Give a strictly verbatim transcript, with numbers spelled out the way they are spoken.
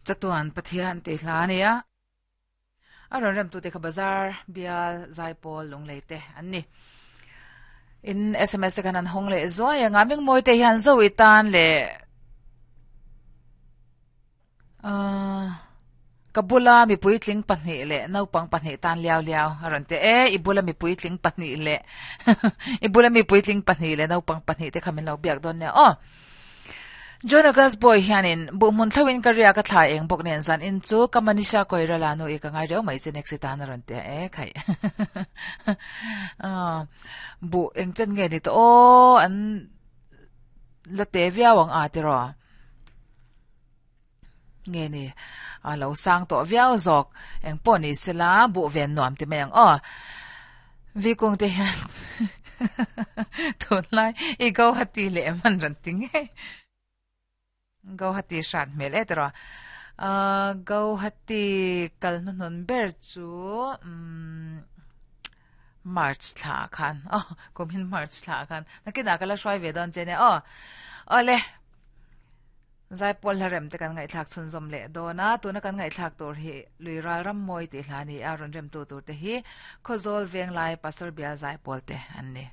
Chatuan Pathian tih hla a ni a, a rawn remtute kha bazar bial zaipawl lunglei te an ni. In S M S te khan an hawng leh zuai anga Mingmawi te hian zo i tan leh ahh ka bula mi puitling pahnih leh naupang pahnih tan liau liau a rawn ti e, i bula mi puitling pahnih leh i bula mi puitling pahnih leh naupang pahnih te kha min lo biak dawn nia aw. John August Boy hianin buhhmun thlauhin ka riak a thla eng bawk nen zan in chu ka Manisha Koirala nu i ka ngai reuh mai che next i tan a rawn ti a e khaih buh eng chen nge ni tawh aw an la te viau ang a tiraw nge ni a lo sang tawh viau zawk eng pawh ni sela buh ven nuam ti mai ang aw Vikung te hian tunlai i Guwahati leh em an rawn ti ngei. Guwahati hrat hmel e tiraw. Ahh Guwahati kal hnuhnun ber chu umm March thla ah khan aw kumin March thla ah khan nakinah ka la hruai ve dawn che nia aw. Awle Zaipawl hla rem te kan ngaihthlak chhunzawm leh dawn a, tuna kan ngaihthlak tur hi Lui Ral Ram Mawi tih hla a ni a, rawn remtu tur te hi Khawzawl Venglai Pastor Bial Zaipawl te an ni.